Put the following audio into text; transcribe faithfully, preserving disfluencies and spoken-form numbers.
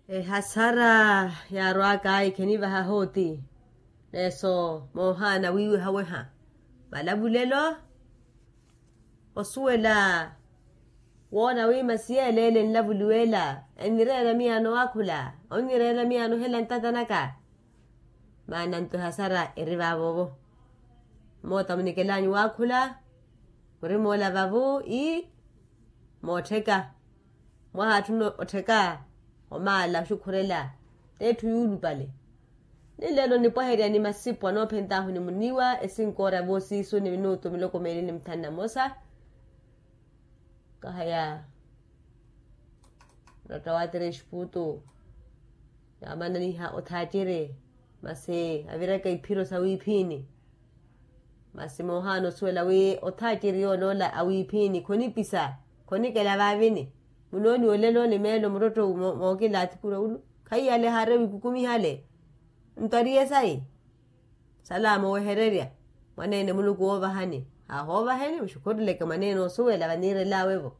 Ehasara yaarwaka ayi khenivaha hooti. Neeso moohaana wiiweha weha malavulelo. Osuwela woona wi masi yeeleele enlavuliwa ela ennireera miyaano waakhula, onnireera miyaano ohela ntatanaka. Maana nto ehasara eri vaavoovo. Moota munikelaanyu waakhula murimoola vavu ii moottheka. Mwaha atthu ottheka omaala oxukhurela t'etthu yuulupale. Ni lelo nipwaherya ni masipu anoophentaahu ni muniiwa esinkoora voosiisu ni minutu miloko meeli ni muthanu na mosa. Kahaya nratta wa terexiputu yaamananiha othaaciri masi aviraka iphiro sawiiphiini. Masi moohaana osuwela wi othaaciri yooloola awiiphiini khonipisa khonikela vaavini. Munooniwa olelo ni meelo murotto mookilaathikurya ulu khaiyale haari awikukumihale. Nto ariye sayi salaamu owehererya mwaneene muluku woovahani. Haahoovaheni muxukhureleke mwaneene osuwela vaniirelaawe-vo.